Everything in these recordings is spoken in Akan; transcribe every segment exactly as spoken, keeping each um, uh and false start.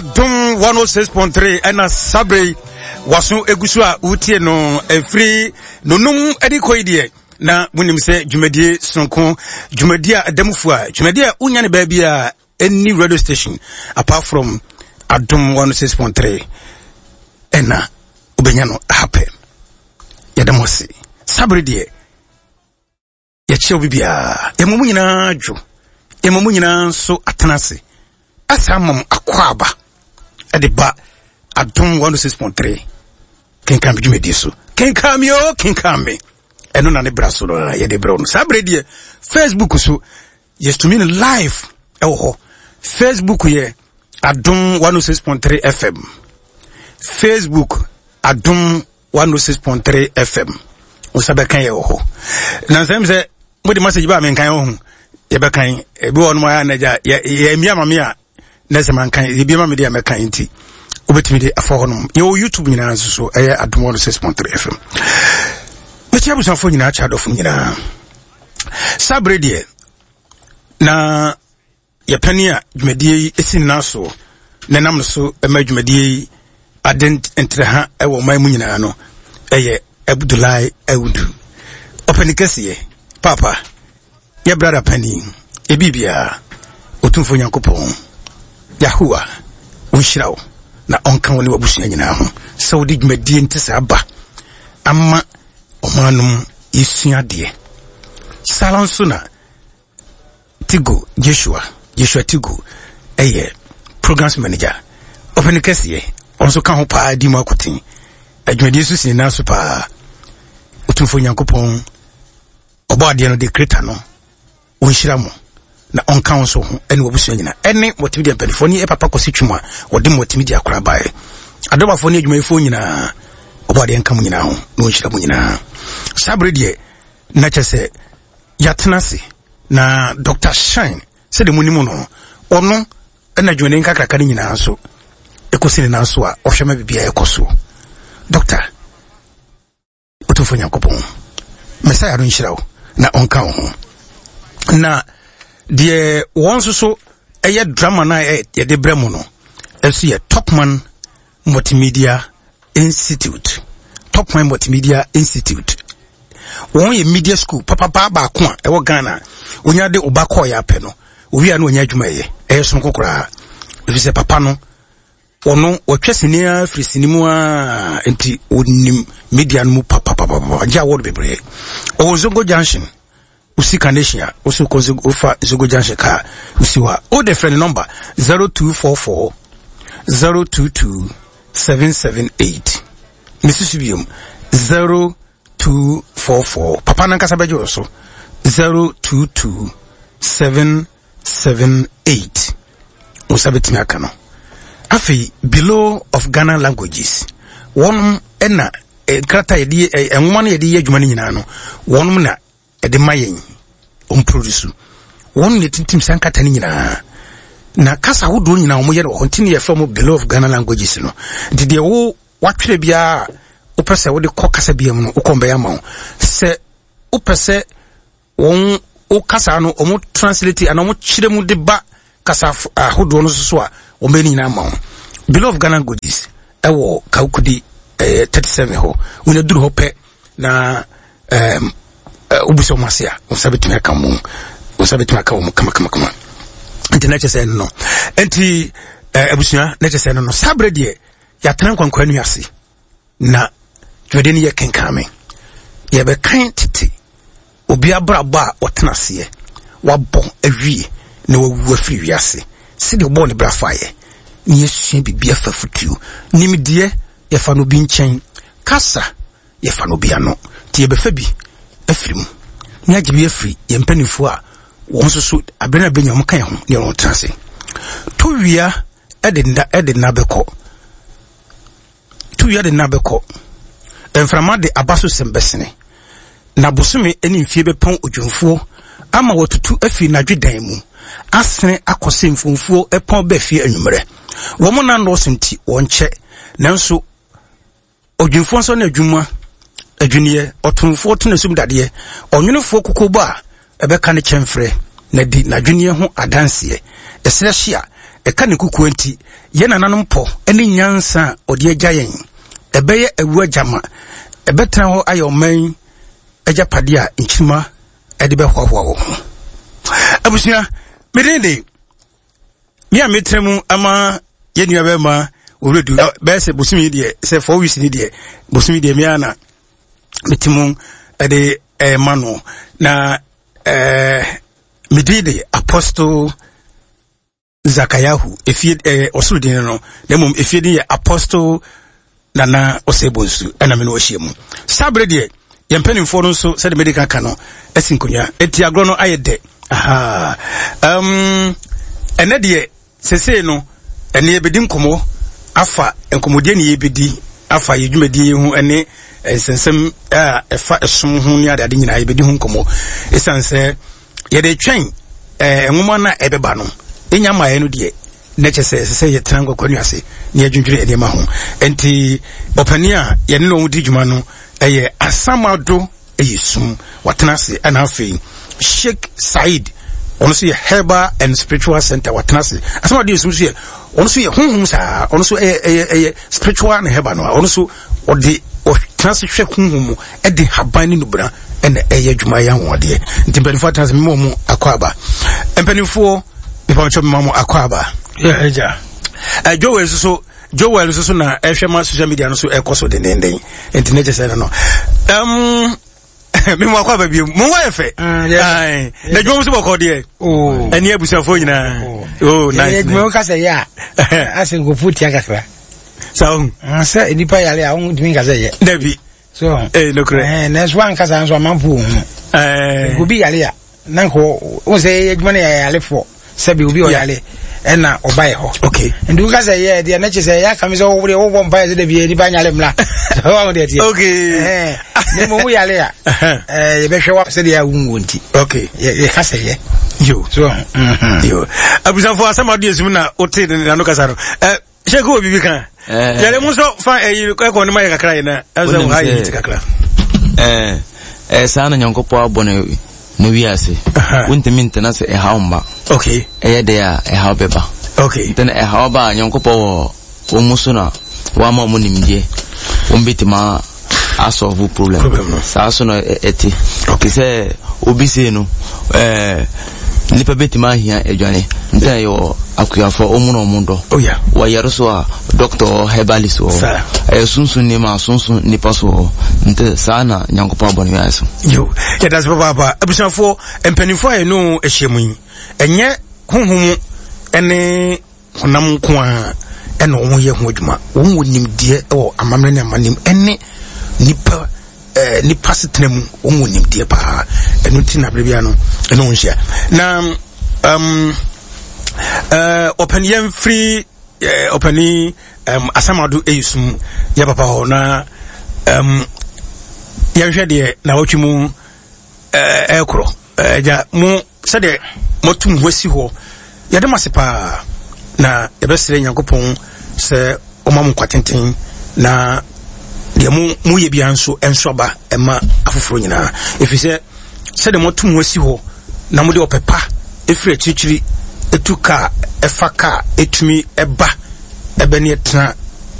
Adom one oh six point three ɛna sabre waso egu so a wotie no ɛfiri nonum ɛde kɔ yi deɛ, na monim sɛ dwumadie sononko, dwumadie a ɛda mu fo a dwumadie a wonya ne baabi a any radio station apart from Adom one oh six point three ɛna wobɛnya no ahapɛ. Yɛda mo ase. Sabre deɛ, yɛkyerɛ wo bibiaa, yɛma mu nyinaa dwo, yɛma mu nyinaa nso atena ase asa ama mo akɔ aba ɛde ba Adom one oh six point three Kenkan Me dwumadie so. Kenkan Me o, Kenkan Me, ɛno na ne bra so no na yɛde brɛ wo no. Saa berɛ deɛ, Facebook so yɛtumi no live ɛwɔ hɔ. Facebook yɛ Adom one oh six point three F M. Facebook, Adom one oh six point three F M, wo nsa bɛka yɛ wɔ hɔ. Na nsɛm sɛ mode message ba a, menkan wɔ ho, yɛbɛkan. Ebi wɔ nom ayɛ anagya yɛmmia ma me a na sɛ mankan yɛbia ma me deɛ mɛkan, nti wobɛtumi de afa hɔ nom. Yɛwɔ YouTube nyinaa nso so, ɛyɛ Adom one oh six point three F M. Mɛkyia abusuafoɔ nyinaa, kyɛ adɔfo nyinaa. Saa bere deɛ, na yɛpɛne a dwumadie yi si nyinaa so na nam no so ma dwumadie yi ade ntrɛha wɔ ɔman mu nyinaa no ɛyɛ Abudulai Awudu, ɔpɛni kɛseɛ papa, yɛ brada pani ebi biara. Otumfoɔ Nyankopɔn Yahowa ɔnhyira wo na ɔnka wo ne w'abusua nyinaa ho sɛ wode dwumadie nte saa ba ama ɔman no mu yɛsua adeɛ. Saa nso na Tigo Joshua, Joshua Tigo, ɛyɛ programs manager, ɔpɛni kɛseɛ, ɔnso ka ho paa di mu akoten adwumadie so si ne nan so paa. Otumfoɔ Nyankopɔn ɔbɔ adeɛ no de kreta no ɔnhyira mo na ɔnka wo nso ho ɛne wabusua nyinaa, ɛne multimedia mpanimfoɔ ne papa kɔsi twum a wɔde multimedia akora baeɛ, adɔbafoɔ ne adwumayɛfoɔ nyinaa. Ɔbɔ adeɛ nka mo nyinaa ho na ɔnhyira mo nyinaa. Saa bere deɛ, na kyɛ sɛ yɛatena ase na Doctor Shine, sɛdeɛ mo nim no, ɔno ɛna adwumaden nkakraka no nyinaa nso ɛkɔsi ne nan so a ɔhwɛ ma biribiara ɛkɔ so. Doctor, Ɔtumfoɔ Nyankopɔn Messiah no nhyira wo na ɔnka wo ho. Na deɛ wɔn nso so ɛyɛ drama no a yɛde brɛ mu no ɛnso yɛ Topman Multimedia Institute. Topman Multimedia Institute, wɔn yɛ media school papapa baako a ɛwɔ Ghana. Onya de ɔba kɔɔ yɛ apɛ no owia no onya adwuma yɛ, ɛyɛ sonko koraa, ɛfiri sɛ papa no ɔno wɔtwa sini a firi sini mu a, nti onim media no mu papapapapa, gye award bebree. Ɔwɔ Zongo Junction, osi Carnation a woso kɔ wofa Zongo Junction kaa osi hɔ a, wode frɛ ne number zero two four four zero two two seven seven eight. Mesusu biom, zero two four four, papa nankasa bɛgye wo so, zero two two seven seven eight, wo nsa bɛtumi aka no. Afei Bureau of Ghana Languages, wɔnom ɛna nkrataa yɛde nwoma no yɛde yɛ adwuma no nyinaa no, wɔnom na ɛde ma yɛn ɔmproduce, wɔn na tintim saa nkrataa no nyinaa na kasa ahodoɔ nyinaa wɔn yɛ no wɔ hɔ, nti ne yɛfrɛ mo Bureau of Ghana Languages no. Nti deɛ wo watwerɛ biara wopɛ sɛ wode kɔ kasa bia mu no, wokɔ mbɛyɛ ama wo. Sɛ wopɛ sɛ wɔn wo kasa no wɔn translate anaa wɔn kyerɛ mu de ba kasa ahodoɔ no so so a, wɔn bɛyɛ no nyinaa ama wo. Bureau of Ghana Languages ɛwɔ Kawukudi ɛyɛ thirty seven hɔ. Wɔn aduru hɔ pɛ na ɛɛm wobisa wɔn ase a, wɔn nsa bɛtumi aka mu, wɔn nsa bɛtumi aka wɔn kamakamakama. Nti na kyerɛ sɛ ɛno no, nti ɛɛ abusua, na kyerɛ sɛ ɛno no. Saa berɛ deɛ, yɛatena nkwankwa nu ase na dwumadie no yɛ Kenkan Me. Yɛbɛkan tete obi abrabɔ a ɔtena aseɛ wabɔ awie na wawu afiri wiase, sɛdeɛ ɔbɔɔ ne bra faeɛ, na yɛsua biribi afa fotuo. Nimdeɛ, yɛfa no bi nkyɛn, kasa, yɛfa no bi ano, nti yɛbɛfa bi afiri mu na yɛagye bi afiri yɛn mpanimfoɔ a wɔn nso so abere no abɛnya wɔn ka yɛn ho ne wɔn tena ase. To wia ɛde nda ɛde nna bɛkɔ, to wia de nna bɛkɔ, mframa de aba so sɛm bɛsene, na bosome ne mfie bɛpɔn odwumfoɔ ama wɔtutu afiri n'adwedan mu asene akɔ sɛ mfomfuo ɛpɔn bɛ fie anwummerɛ. Wɔn nan nɔɔso nti wɔnkyɛ, nanso odwumfoɔ nso ne adwuma adwiniɛ, ɔtomfoɔ to n'asum dadeɛ, ɔnwonefoɔ kokobɔ a ɛbɛka ne kyɛmfrɛ na di n'adwiniɛ ho adanseɛ. Ɛserɛ hye a Ɛka ne kukuo nti, yɛn nananom pɔ ne nyansa a ɔde agya yɛn. Ɛbɛyɛ awu agyama. Ɛbɛtena hɔ ayɛ ɔman agyapadeɛ a nkyirima ɛde bɛhoahoa wɔ ho. Abusua, mede de me a metena mu ama yɛn nua bɛrima owuradu bɛyɛ sɛ bosomi deɛ sɛ four weeks ni deɛ bosomi deɛ mea na mete mu ɛde ɛma no na ɛɛ mede de Apostle Zakayahu efie ɛɛ ɔsoro din no na mmom efie din yɛ Apostle Nana Osei Bonsu ɛna me no ahyia mu saa bere deɛ yɛn mpanimfoɔ no nso sɛde mede ka no asi nkonnwa eti agorɔ no ayɛ dɛ. Aha, um, ɛnɛ deɛ sesei no ɛne yɛbɛdi nkɔmmɔ afa nkɔmmɔdeɛ ne yɛbɛdi afa yɛ dwumadie ho ɛne nsɛnsɛm a ɛfa ɛsom ho ne adeade nyinaa yɛbɛdi ho nkɔmmɔ ɛsiane sɛ yɛde twɛn ɛɛ nwoma no a ɛbɛba no ɛnya mmaeɛ no deɛ na kyɛ sɛ ɛsɛ sɛ yɛtena nkɔkɔ ase na yɛdwendwene nneɛma ho. Nti ɔpanin a yɛne no di dwuma no ɛyɛ Asamado ɛyɛ sum watena ase, ɛna afei Sheikh Said, ɔno nso yɛ Herbal and Spiritual Center watena ase. Asamado yɛ sum nso yɛ ɔno nso yɛ honhom saa, ɔno nso ɛyɛ ɛyɛ ɛyɛ spiritual ne herbal no a ɔno nso ɔde ɔtena ase hwɛ honhom mu ɛde haban ne nubra ɛna ɛyɛ adwuma yɛ ahoɔdeɛ. Nti mpanimfoɔ atena ase, mmɔ mu akɔ aba. Mpanimfoɔ, mepamkyɛ mma mo akɔ aba. Yɛ ɛgya Joel nso so Joel nso so na ɛhwɛ ma social media no so ɛkɔ so dendenden, nti ne kyɛ sɛ no no um, me mu akɔ aba bio, mo ho ayɛ fɛ na adwuma mu so bɔkɔ deɛ ɛne abusuafoɔ nyinaa. Oh, nice. Adwuma wo kasa yɛ a asɛ nkurɔfoɔ tia kakra. Saa hu sɛ nnipa yare a wontumi nka sɛ yɛ. Dabi. So eh nokorɛ. Nanso wankasa nso amanfoɔ wɔ hu obi yare a na nka wo sɛ adwuma no yɛ yarefoɔ sɛbi obi ɔyare ɛna ɔba yɛ hɔ. Okay nti woka sɛ yɛ deɛ na kyɛ sɛ yɛ aka me sɛ wodeɛ wobɔ mpa yɛ sɛ dabi nipa nyare mmra wahu deɛ teɛ. Okay na mmom woyare a yɛbɛhwɛ wa sɛdeɛ a wonwuo nti. Okay yɛka sɛ yɛ. Yo. So yo, abusuafoɔ, asɛm ade esum na wote ne nano kasa no ɛ hyɛ ko wɔ biribi ka yɛrɛ mu nso fa ɛyi ɛkɔ ne ma yɛ kakra yi na ɛsɛ wɔ ha yɛ ti kakra. Ɛɛ ɛɛ saa na Nyankopɔn abɔ no ne wiase. Wontumi ntena sɛ ɛhaw mma. Okay ɛyɛ deɛ a ɛhaw bɛba. Okay nti na ɛhaw ba a, Nyankopɔn wɔ wɔn mu so na wama wɔn nimdeɛ wɔn bɛtumi asolve problem. Problem no. Saa so na ɛte te sɛ obi sei no, ɛɛ nipa bɛtumi ahia aduane nti na yɛwɔ akuafoɔ wɔn na wɔn dɔ. Oh yeah. Wɔyɛre so a, doctor wɔ, herbalist wɔ. Saa. Ɛyɛ sunsun nneɛma a sunsun nipa so wɔ hɔ, nti saa na Nyankopɔn abɔ ne wiase so. Yo, yɛda se papaapa. Abusuafoɔ, mpanimfoɔ a yɛne ahyia mu yi, ɛnyɛ honhom ne honam nko a ɛna wɔn yɛ ho adwuma. Wɔn wɔ nimdeɛ wɔ amammerɛ ne amannem ɛne nipa ɛɛ nipa setena mu. Wɔn wɔ nimdeɛ paa, ɛno ti na abere bia no ɛne wɔn hyia na um, ɛɛ ɔpɛni yɛn firi ɛɛ ɔpɛni um, Asamado ɛyɛ sum yɛ papa hɔ na um, yɛnhwɛ deɛ na wɔtwe mu ɛɛ ɛɛkorɔ ɛgya mo sɛdeɛ motum ho asi hɔ. Yɛde mo ase paa na yɛbɛsrɛ Nyankopɔn sɛ ɔma mo nkwa tenten na deɛ mo moyɛ biara nso ɛnso aba ɛma afoforɔ nyinaa, ɛfiri sɛ sɛdeɛ moatum ho asi hɔ na mode ɔpɛ pa ɛfiri akyirikyiri ɛtu kaa ɛfa kaa ɛtumi ɛba ɛbɛ ne ɛtena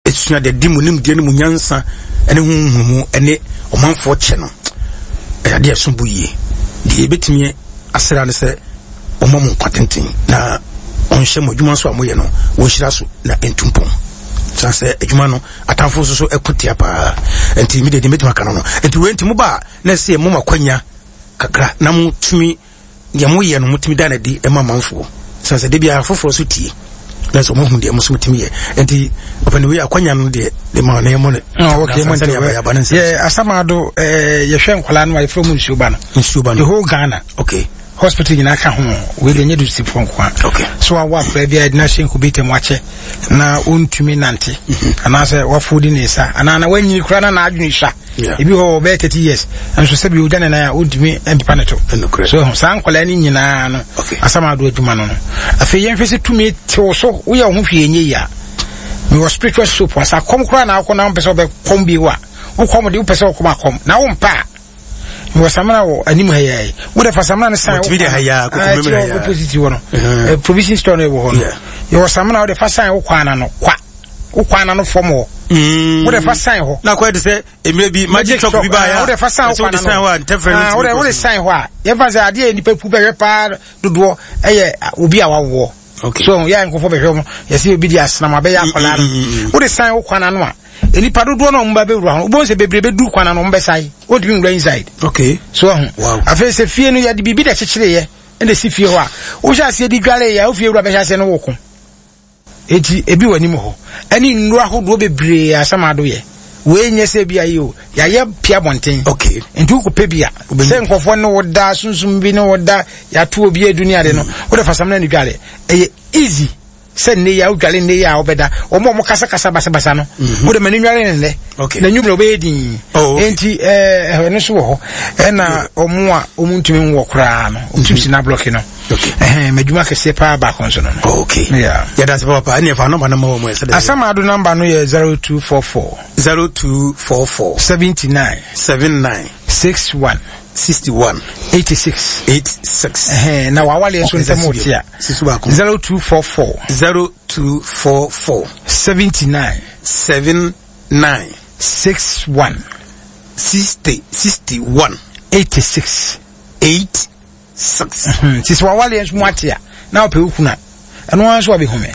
ɛsua deɛ di mo nimdeɛ ne mo nyansa ɛne ho nhunumu ɛne ɔmanfoɔ kyɛ no, ɛyɛ adeɛ ɛso bo yie. Deɛ yɛbɛtumi asra ne sɛ ɔma mo nkwa tenten na ɔnhyɛ mo adwuma nso a moyɛ no wɔnhyira so na ɛntu mpɔn, san sɛ adwuma no atamfo nso so ɛko tia paa. Nti mede deɛ mɛtumi aka no no nti wei nti moba a na ɛsɛ mo ma kwanya kakra na motumi deɛ moyɛ no motumi da no adi ɛma amanfoɔ, san sɛ de biara foforɔ so tie na sɛ ɔmahu deɛ mo so motumi yɛ. Nti ɔpɛne wei akwanya no deɛ de ma na yɛmmɔ no. Oh, okay, mo sɛdeɛ abayaba no nsɛm. Yɛ Asamado, eh, yɛhwɛ nkwadaa no a yɛfrɛ mu nsuo ba no. Nsuo ba the no. Whole Ghana okay hospital nyinaa ka ho. Wei deɛ nyɛ dusifoɔ nko a. Okay so awɔ akwadaa bi a yɛde no ahyɛ incubator mu akyɛ na ɔntumi nante anaasɛ wafodi ne nsa anaa na wanyini koraa na n'adwene sua. Yeah. Ebi hɔ ɔbɛyɛ thirty years nso sɛbi ogya ne nan a ɔntumi mpepa ne to. Ɛnokorɛ. So saa nkwadaa no nyinaa no, Okay. Asamado adwuma no no afei yɛnhwɛ sɛ tumi tew so woyɛ wo ho hwee nyɛ yi a, mewɔ spiritual soap a sɛ akɔm koraa na akɔ na wompɛ sɛ wobɛkɔm bio a, wokɔm de wopɛ sɛ wokɔm akɔm na wompɛ a Wɔ samina wɔ anim ha yɛ wode fa samina no san Wɔtumi de ha yɛ a, koko mɛmɛ ha yɛ a. Opposite hɔ no, provision store no wɔ hɔ no, yɛwɔ samina wode fa san wo kwan no kwa wo kwan no fam hɔ, wode fa san hɔ. Na akɔyɛ te sɛ mmerɛ bi magic chalk bi baeɛ a wode fa san wo ɛsɛ wode kwan san hɔ a ntɛfrɛ no no, wode ntumi wode kɔ so. san hɔ a, yɛmfa sɛ adeɛ a nipa pu bɛhwɛ paa dodoɔ ɛyɛ obi a wawoɔ. Okay. So yɛ nkɔfɔ bɛhwɛ mo, yɛsɛ obi de asenam abɛyɛ akwadaa mm, mm, mm. no, wode san wo kwan ano a, nipa dodoɔ na ɔmo ba bɛwura hɔ, wobɛhu sɛ bebree bɛduru kwan ano, ɔmo bɛsae, wɔntumi nwura inside. Okay. So ɔho Wow. afei sɛ fie no yɛde biribi na ɛkyekyereyɛ ɛna ɛsi fie hɔ a, wohyɛ aseɛ di dware yɛ a, wo fie wura bɛhyɛ aseɛ no wo ko. Eti ebi wɔ anim hɔ ɛne nnuro ahodoɔ bebree asɛm ado yɛ wei nyɛ sɛ bi ayi o, yɛayɛ pia bɔnten. Okay. Nti wokɔpɛ bi a sɛ nkɔfoɔ ne wo da sunsum bi ne wo da yɛato obi adu ne ade no, wode fa samina ne dware, ɛyɛ easy sɛ nne yi a wodware, nne yi a wobɛda wɔn a wɔn kasakasa basabasa no, wode ma ne nware ne nnɛ Okay. na nwummerɛ wobɛyɛ din. Oh, okay. Enti ɛɛ ɛno nso wɔ hɔ, ɛna wɔn a wɔn ntumi nwɔ koraa no, wɔn tumi si na blɔki no. Okay. Ɛhɛn madwuma kɛseɛ paa baako nso no no Okay. Yeah. Yɛda ase papa. Ɛne ɛfa nɔmba no ma wɔ mu ɛsɛ dɛ. Asamado number no yɛ zero two four four zero two four four seventy-nine seven nine sixty-one sixty-one eighty-six. eighty-six. Ɛhɛn na wawale nso ntɛm wɔ ti a Sisu baako. zero two four four zero two four four seventy-nine seven nine sixty-one sixty sixty-one eighty-six. eight six. Nti sɛ wawale nso mu ate a na wopɛ wo kunu a, ɛno ara nso wabɛhu me.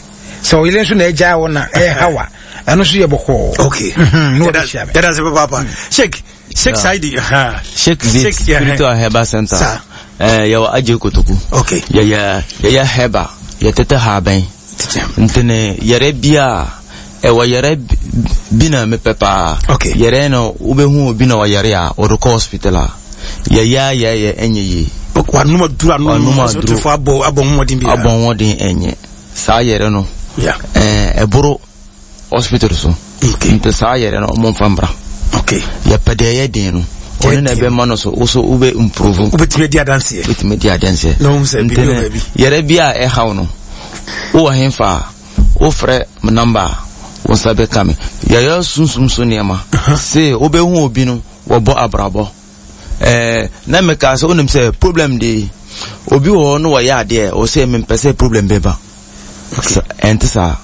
Sɛ ɔyere nso na agyaa wo na ɛha wa, ɛno nso yɛ bɔkɔɔ. Okay. Mhm, na Yɛda wabɛhyia me. yɛda ase papa. Sheikh Sheikh Saidi. Ha. Sheikh Zit Sheikh, yeah. Spiritual Herbal Center. Sa. Eh, yɛwɔ Agye Kotoku. Okay. Yɛyɛ yɛyɛ herbal, yɛtete haban. Tete. Ntene yɛrɛ bi a ɛwɔ yɛrɛ bi na mepɛ paa. Okay. Yɛrɛ no wobɛhu obi na ɔyɛre a ɔde kɔ hospital a yɛyɛ a yɛyɛ ɛnyɛ yie. Wanum aduru anum. Wanum aduru. Hospitalfoɔ abɔ abɔ mmɔden bi. Abɔ mmɔden ɛnyɛ saa yɛrɛ no. Yeah. Ɛɛ ɛboro hospital so. Okay. Nti saa yɛrɛ no ɔmo nfa mbra. Okay. Yɛpɛ deɛ ɛyɛ den no, ɔno na ɛbɛma no so wo so wobɛ improve. Wobɛtumi adi adanseɛ. Wobɛtumi di adanseɛ. Na wohu sɛ Nti biribi wɔ no, baabi. yɛrɛ bi a ɛhaw no, wowɔ hemfa a wofrɛ me number a, wo nsa bɛka me. Yɛyɛ sunsum so nneɛma se wobɛhu obi no wɔbɔ abrabɔ ɛɛ na meka sɛ wonim sɛ problem de obi wɔ hɔ no wɔyɛ adeɛ wɔ sɛ mempɛ sɛ problem bɛba. Sɛ- ɛnte saa,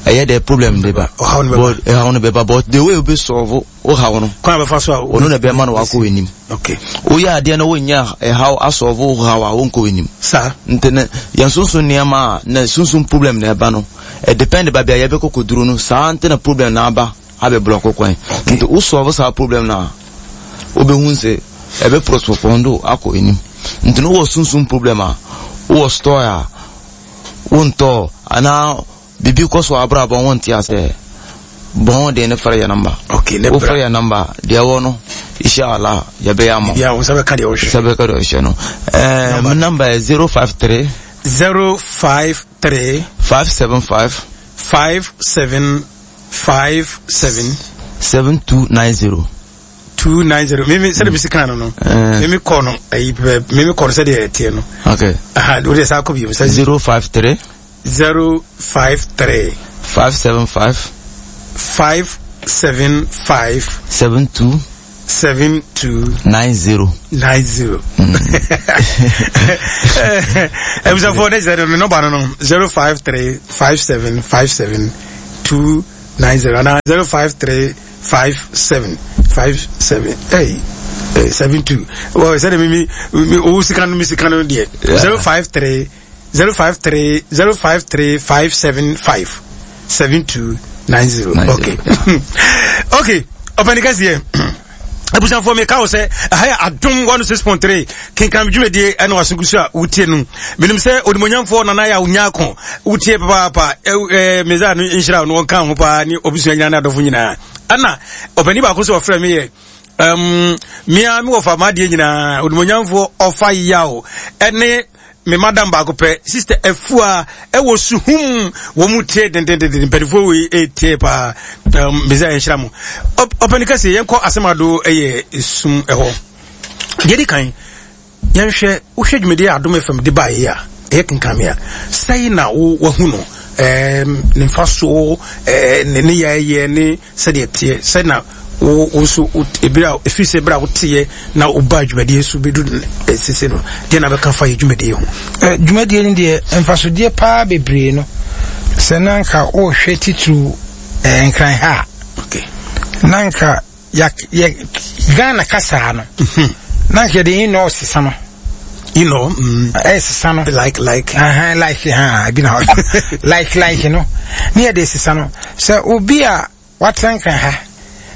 ɛyɛ dɛ problem de ba. Ɔhaw no bɛba. But ɛhaw no bɛba, but the way obi solve wo haw no, Kwan a bɛfa so a ɔno na ɛbɛma no wakɔ w'anim. Okay. Woyɛ adeɛ no wonyɛ ɛhaw asolve wo haw a, wonkɔ w'anim. Saa. Nti ne yɛn sunsun nneɛma a na sunsun problem na ɛba no, ɛdepend baabi a yɛbɛkɔ kɔduru no saa. Nti na problem na aba abɛ block kwan, nti wo solve saa problem na wobɛhu sɛ ɛbɛ postpone do akɔ anim. Nti no wowɔ sunsun problem a, wowɔ store a wontɔ anaa biribi kɔ so abrabɔ wonte asɛ bɔn de ne frɛ yɛ number. Okay. Ne bra. Wofrɛ yɛ number deɛ ɛwɔ no, inshallah yɛbɛyɛ ama wo. Bia wo nsa bɛka deɛ wohwɛ. Sɛ bɛka deɛ ɔhyɛ no, ɛɛ me number yɛ zero five three zero five three five seven five five seven five seven seven two nine zero. Two nine zero. Mimi sɛdeɛ mesi kan no no. Eh. Mimi kɔ no ɛyi pɛ, mimi kɔ no sɛdeɛ ɛteɛ no. Okay. Aha, o de saa kɔ bi mu sɛ zero five three zero five three five seven five five seven five seven two seven two nine zero. Nine zero. Ebusuafoɔ ne sɛ ne nɔba no no zero five three five seven five seven two nine zero ana zero five three five seven five seven ɛy seven two wɔ sɛde mi mi mi owu sika no mi sika no deɛ zero five three zero five three zero five three five seven five seven two nine zero. Okay, okay, ɔpɛni kɛseɛ, abusuafoɔ, meka wo sɛ ɛha yɛ Adom one six point three kenkam dwumadie ɛna wasogu so a wotie no. Menim sɛ onimonyamfoɔ Nana yɛ a wonya ako wotie papaapa. Mesa no nhyira no wɔnka ho paa ne ɔbusua nyinaa ne adɔfo nyinaa. Ɛna ɔpani baako sɛ ɔfrɛ me yɛ um, mea mewɔ fa maadeɛ nyinaa onimonyamfoɔ ɔfa yaw ɛne me madam baako pɛ, Sister Afua ɛwɔ Suhum, wɔn mu tie dendendenden. Mpanimfoɔ wei ɛtie paa. um, mesa yɛnhyira mo. Ɔpani kɛse, yɛnkɔ asɛm ado ɛyɛ sum ɛhɔ deɛ di kan. Yɛnhwɛ wohwɛ dwumadie a Adom F M de baeɛ a ɛyɛ kenkame a sɛi na wo wahu no, ne mfa so, ne ne yɛyɛ ne sɛdeɛ teɛ sɛ na Wo wo nso ebere a efiri sɛ ebere a woteɛ na woba dwumadie so bɛdu sese no, deɛ na bɛka fa yɛ dwumadie ho? Eh, dwumadie no deɛ mfasodeɛ paa bebree no, sɛ na nka wohwɛ titiriw eh, Nkran ha a, okay. na nka ya, yɛ Ghana kasaa no, mhm. na nka yɛde in sesa no. You know, mm, eh, sesa no. Like, like. Uh-huh, like, ha, bi na hɔ. Like, like, no. Ne yɛde sesa no. Sɛ obi a watena Nkran ha,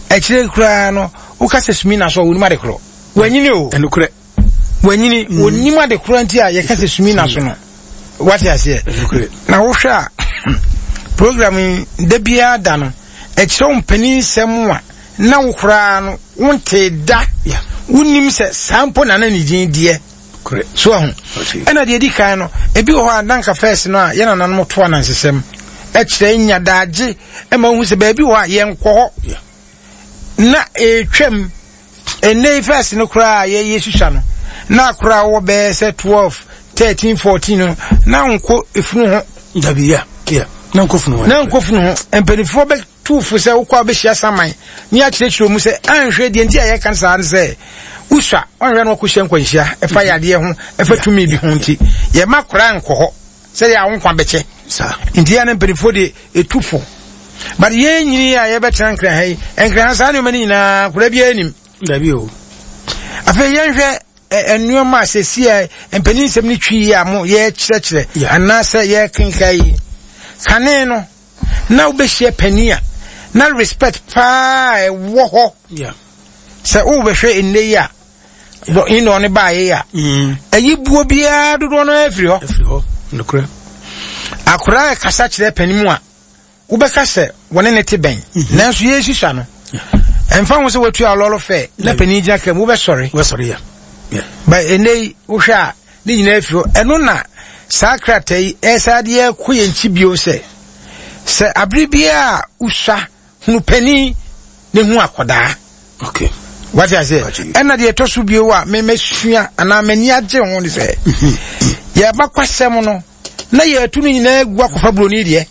akyire koraa no, woka sɛ sumi na so a, wɔnim ade korɔ. Wanyini o. Ɛnokorɛ. Wanyini, mm. wɔnim ade korɔ nti a yɛka sɛ sumi na so no. Wate aseɛ. Na wohwɛ a, program yi, da biara da no, ɛkyerɛ wo mpanin nsɛm a, na wo koraa no, wonte da. Wonim sɛ saa mpo na na ne din deɛ. So ahu. Ɛna deɛ di kan no, ebi wɔ hɔ a na nka fɛs no a yɛn nananom to anansesɛm ɛkyerɛ nya daagye ɛma wohu sɛ baabi wɔ hɔ a yɛnkɔ hɔ. Na ɛretwam ɛnnɛ yi fɛs no koraa a yɛyɛ susua no, na koraa wɔ bɛyɛ sɛ twelve, thirteen, fourteen no, na nkɔ efunu ho. Dabi ya, ya. Na nkɔ funu ho. Na nkɔ funu ho. Mpanimfoɔ bɛ tuufo sɛ wokɔ a wobɛhyia saman ne akyerɛkyerɛ mu sɛ anhwɛ deɛ nti a yɛka saa no sɛ wosua ɔnhwɛ no wakɔhyia nkwanhyia ɛfa yadeɛ ho ɛfa tumi bi ho nti yɛma koraa nkɔ hɔ sɛdeɛ a wo nkwa bɛkyɛ nti yɛ ne mpanimfoɔ de ɛtu fo. But yɛn nyini a yɛbɛtena Nkran ha yi, Nkran ha saa nneɛma no nyinaa koraa biara nim. Dabi o. Afei yɛnhwɛ nneɛma a sɛsi a mpanin nsɛm no twi yi a mo yɛkyerɛkyerɛ anaasɛ yɛkenka yi. Kane no na wobɛhyia panin a na respect paa ɛwɔ hɔ. Sɛ wobɛhwɛ nnɛ yi a ino ne baayɛ yi a ɛyi buo biara dodoɔ no afiri hɔ. Akwaraa ɛkasa kyerɛ panin mu a wobɛka sɛ wɔne ne te bɛn, nanso yɛsusua no ɛmfa ho sɛ watua lɔlɔ fɛ na panin gyina kam wobɛsɔre. Ba ɛnnɛ yi wohwɛ a ne nyinaa afiri hɔ. Ɛno na saa krataa yi ɛsa de yɛkɔ yɛn nkyi bio sɛ sɛ abere biara a wosua hunu panin ne hu akɔdaa. Okay. Wate aseɛ? Ɛna deɛ ɛtɔ so bio a memɛsua anaa m'ani agye ho ne sɛ yɛba kwasɛm no na yɛatu no nyinaa gu akɔfa buroni deɛ.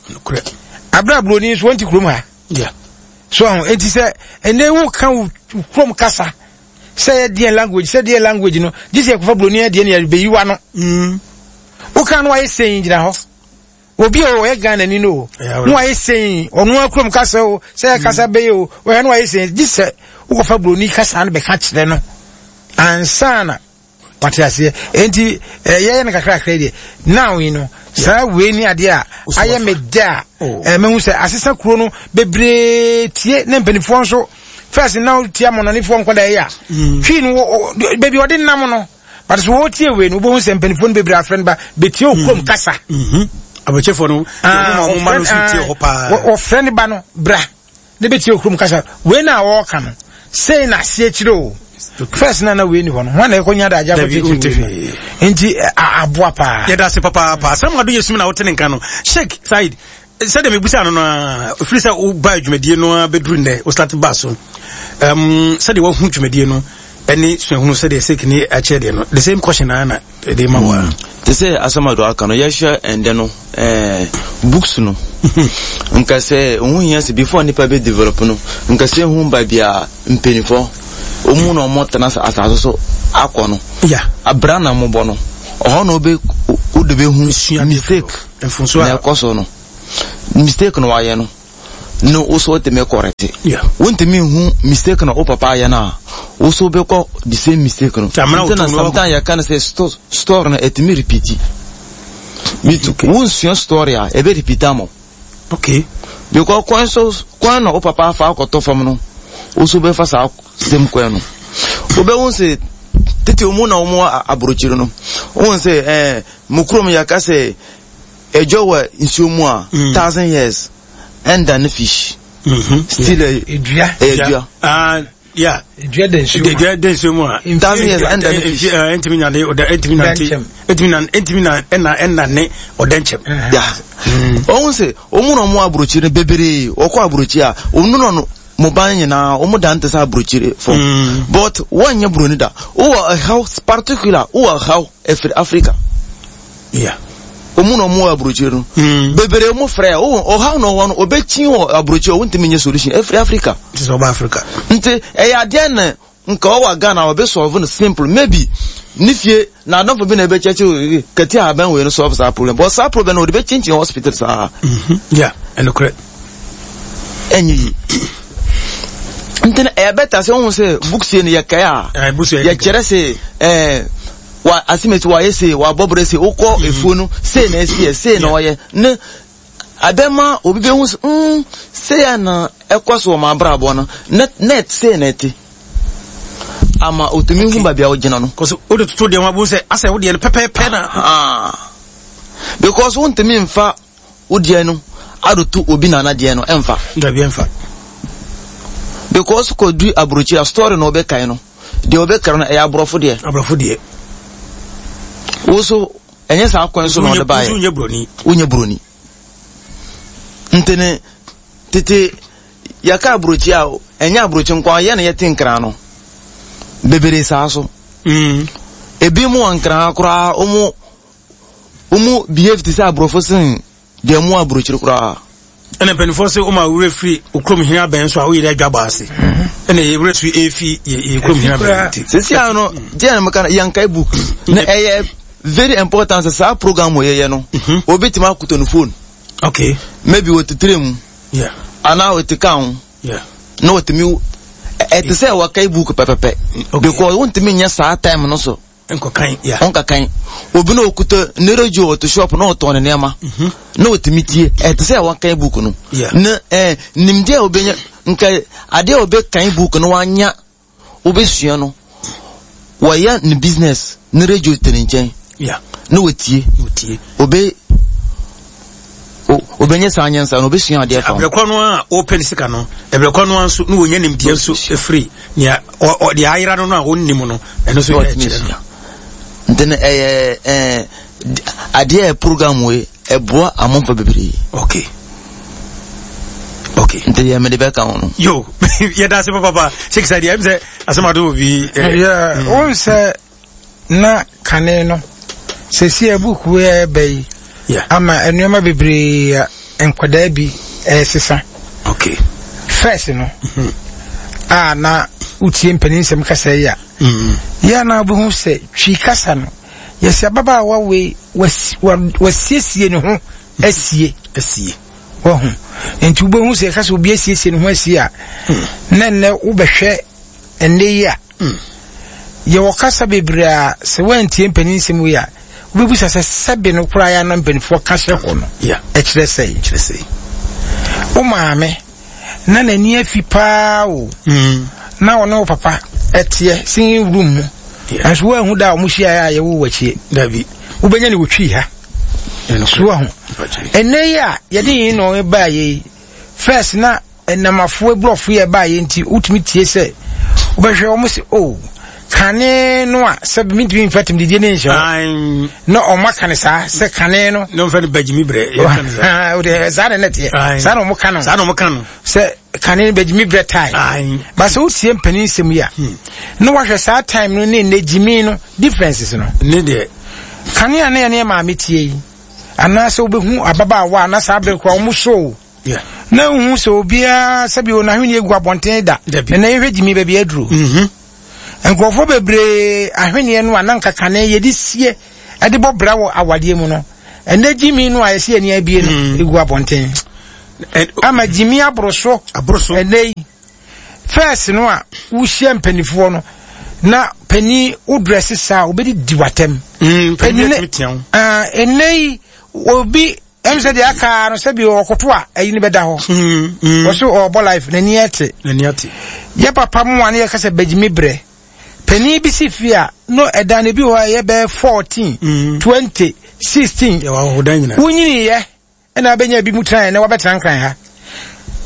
Abere a buroni nso wɔnte kurom ha. So aho enti sɛ ɛnɛ woka wo kurom kasa sɛ yɛ deɛ language sɛ deɛ language no gye sɛ yɛkɔfa buroni deɛ ne yɛbɛyi wa no. Woka no wayɛ sɛn gyina hɔ. Obi a ɔyɛ Ghana ni no no wayɛ sɛn ɔno akurom kasa o sɛ yɛ kasa bɛyɛ o ɔyɛ no wayɛ sɛn gye sɛ wokɔfa buroni kasa no bɛka kyerɛ no ansa na wate aseɛ. Enti yɛyɛ no kakrakra deɛ now yi no saa wei ni adeɛ a ayɛ me dɛ a mehu sɛ asesa kuro no bebree tie ne mpanimfoɔ nso first na wotia mɔnɔnefoɔ nkɔda ɛyɛ a twi no baabi ɔde nam no. But so wɔtie wei no wobɛhu sɛ mpanimfoɔ no bebree afrɛ no ba bɛtie wo kurom kasa. Abɔkyɛfoɔ no wɔma no so tie hɔ paa. Wɔfrɛ no ba no bra ne bɛtie wo kurom kasa. Wei na wɔreka no sei na aseɛ kyerɛ o. First na na wei ni hɔ no hɔ na ɛkɔnya da agya kɔkyerɛkyerɛ wei nti aboa paa. Yɛda ase papaapa. Asɛm ado yɛ sum na wote ne nka no. Sheikh Said, sɛdeɛ mebusa no no a ɛfiri sɛ woba dwumadie no a bɛduru nnɛ wo start ba so um, sɛdeɛ woahu dwumadie no ɛne suahunu sɛdeɛ sek ne akyerɛ deɛ no, the same question na na ɛde ma wo a. Te sɛ asɛm a do aka no, yɛhwɛ ɛndɛ no eh, books no nka sɛ ɛho hia sɛ before nipa bɛ develop no nka sɛ ɛhu ba bia mpanimfoɔ ɔmu na ɔmo tena asase so akɔ no abra na mobɔ no ɔhɔ na wode bɛhu mistake na ɛkɔ so no mistake no wayɛ no no wo so wotumi correct. Wontumi nhu mistake na wo papa ayɛ no a wo so wobɛkɔ the same mistake no. Nti na sometimes yɛka no sɛ story no ɛtumi repeat. Wonsua story a ɛbɛ repeat ama wo. Okay. Because kwan so kwan na wo papa afa akɔtɔ fam no wo so bɛfa saa same kwan no. Wobɛhu sɛ tete mu na wɔn aburokyiri no wohu sɛ ɛɛ mo kurom yɛka sɛ ɛdwa wɔ nsuo mu a thousand years ɛnda ne fish. Still ɛdua ɛdua. Yeah. Edua da nsuo mu. Edua da nsuo mu a. Thousand years ɛnda ne fish. Ɛntumi na ɔda ɛntumi na nti ɛntumi na ɛntumi na ɛna ɛna ne ɔda nkyɛm. Yeah. Ɔhun sɛ ɔmu na ɔmu aburokyire no bebree ɔkɔ aburokyire a ɔnu na ɔno mo ban nyinaa ɔmu dan te sɛ aburokyire fo. But wɔnyɛ buroni da. Wowɔ ɛhaw particular wowɔ ɛhaw ɛfiri Africa. Yeah. Ɔmu na ɔmu wɔ aburokyire no. Mm. Bebree mu frɛ o ɔhaw na ɔwɔ no ɔbɛkyi wɔ aburokyire ɔntumi nyɛ solution ɛfiri Africa. Nti sɛ ɔba Africa. Nti ɛyɛ adeɛ na nka ɔwɔ Ghana ɔbɛ solve no simple maybe ne fie na adɔfo bi na ɛbɛkyɛkyɛ kɛte a abɛn wei no solve saa problem but saa problem no ɔde bɛkyinkyin hospital saa. Mm-hmm. Yeah, ɛnokorɛ. Ɛnyɛ yi. Nti na ɛyɛ bɛta sɛ wohu sɛ books yi no yɛkae a yɛkyerɛ sɛ ɛɛ wa asimeti wayɛ se wabɔ brɛ se wokɔ mm. efuo no sei na esi yɛ sei na ɔyɛ ne abɛma obi bɛhu sɛ mm sei a na ɛkɔ so wɔ m'abrabɔ no net net sei na ɛte ama otumi hu baabi a ɔgyina no. Kɔsɛ o de toto deɛ ho abo sɛ asɛ o deɛ no pɛpɛɛpɛ na. Ah. Because wontumi nfa wo deɛ no adoto obi nana deɛ no ɛnfa. Dabi ɛnfa. Because kɔdu aburokyire a story na ɔbɛkae no deɛ ɔbɛkara no ɛyɛ aborɔfo deɛ. Aborɔfo deɛ. Wo so ɛnyɛ saa kwan so na ɔde baeɛ. Wonyɛ buroni. Wonyɛ buroni. Ntene tete yɛka aburokyi a ɛnyɛ aburokyi nko ara yɛ na yɛte nkran no bebree saa so. Mm. Ebi mu wɔ nkran koraa wɔn wɔn behave te sɛ aborɔfo sen deɛ mu aburokyiri koraa. Ɛna mpanimfoɔ sɛ wɔn a wura firi okurom hene abɛn so a woyɛ dɛ adwa bɔ ase. Ɛna yɛ wura so efi yɛ yɛ kurom hene abɛn ti. Sisi ano deɛ na meka no yɛnkae book na ɛyɛ very important sɛ saa program wɔ yɛyɛ no obi tumi akoto ne phone. Okay. Maybe wɔtitire mu. Yeah. Anaa wɔte ka ho. Yeah. Na wɔtumi ɛte sɛ wɔkae book pɛpɛpɛ. Okay. Because wontumi nyɛ saa time no so. Nkɔkan, yeah. Ɔnkakan. Obi na okuta ne radio ɔte shop na ɔtɔn ne nneɛma. Mm-hmm. Na ɔtumi tie. Ɛte sɛ wɔkan book no. Yeah. Na eh, nimdeɛ a obenya nka adeɛ a ɔbɛkan book no wanya wobɛsua no wɔyɛ ne business ne radio te ne nkyɛn. Yeah. Na wɔtie. Wɔtie. Obe obɛnyɛ saa nyansa no obɛsua adeɛ fa ho. Abrɛkɔ no a ɔpɛ ne sika no, ɛbrɛkɔ no a nso na wɔnya nimdeɛ nso ɛfiri nea deɛ ayera no no a ɔnnim no ɛno nso yɛ kyerɛ no. Nti no ɛyɛ ɛɛ adeɛ a program wei ɛboa amanfoɔ bebree. Okay. Okay. Nti yɛ mede bɛka ho no. Yo, yɛda ase papapa. Sheikh Sadi, ɛm sɛ asɛm ado wɔ bi. Yeah, wɔn sɛ na kane no sɛsi abuku ɛɛba yi ama nneɛma bebree a nkwadaa bi ɛresesa. Okay. First no, mm-hmm. a na wotie mpanin nsɛm kasa yi a, mm-hmm. yɛ na wobɛhu sɛ twi kasa no, yɛsɛ ababaawa wei wasiesie ne ho asie. Asie. Wahu. Nti wobɛhu sɛ yɛka sɛ obi asiesie ne ho asie a, mm. na nnɛ wobɛhwɛ ɛnnɛ yi a, mm. yɛwɔ kasa bebree a sɛ woantie mpanin nsɛm wei a, wobɛbusa sɛ sɛbe no koraa yɛ na mpanimfoɔ ka hyɛ hɔ no ɛkyerɛ sɛe. Kyerɛ sɛe. Wo maame na n'ani afi paa o. Mm. Na ɔne wo papa ɛteɛ singing room mu. Nanso woanhu da a wɔn hyiaeɛ a yɛwo w'akyie. Dabi. Wobɛnya ne wɔtwii ha. So ahu. Ɛnnɛ yi a yɛde yɛn na baayɛ yi, first na ɛnamafoɔ aburɔfo yɛ baayɛ nti wotumi tie sɛ wobɛhwɛ wɔn sɛ o kane no a sɛ mentumi mfa tɛmdidie ne nhyɛ hɔ na ɔma ka ne saa sɛ kane no na ɔmfa no bagyimi brɛ saa na ɛnɛ teɛ saa na ɔmo ka no saa na ɔmo ka no sɛ kane no bagyimi brɛ tae ba sɛ wotie mpanin nsɛm yi a na wahwɛ saa time no ne nnɛ gyimi no differences no ne deɛ kane a na yɛne yɛ maame tie yi anaasɛ wobɛhu ababaawa a na saa bere koraa ɔmo so Yeah. Na nhu sɛ obiara sɛbi o n'ahweneɛ gu abɔnten da. Dabi. Na yɛhwɛ gyimi baabi aduro. Mm-hmm. Nkurɔfoɔ bebree ahweneɛ no a na nka kane yɛde sie ɛde bɔ bra wɔ awadeɛ mu no ɛnɛ gyimi no a yɛsi ani abie no Mm. egu abɔnten. Ama gyimi aboro so. Aboro so. Ɛnɛ yi first no a wohyia mpanimfoɔ no na panin wo dress saa obɛdi di w'atɛm. Mm, panin atumi tea wo. Ah, ɛnɛ yi obi ɛm sɛ deɛ aka no sɛ bi ɔkoto a ɛyi no bɛda hɔ. Mm, mm. Wɔso ɔbɔ life n'ani ate. N'ani ate. Yɛ papa mu a ne yɛka sɛ bɛgyimi brɛ. Panin bi si fie a no ɛdan no bi hɔ a ɛyɛ bɛyɛ fourteen, Mm. twenty, sixteen. Yɛwɔ ahohodan nyinaa. Wonyiniiɛ ɛna abɛnya bi mu tena ɛnɛ wabɛtena nkran ha.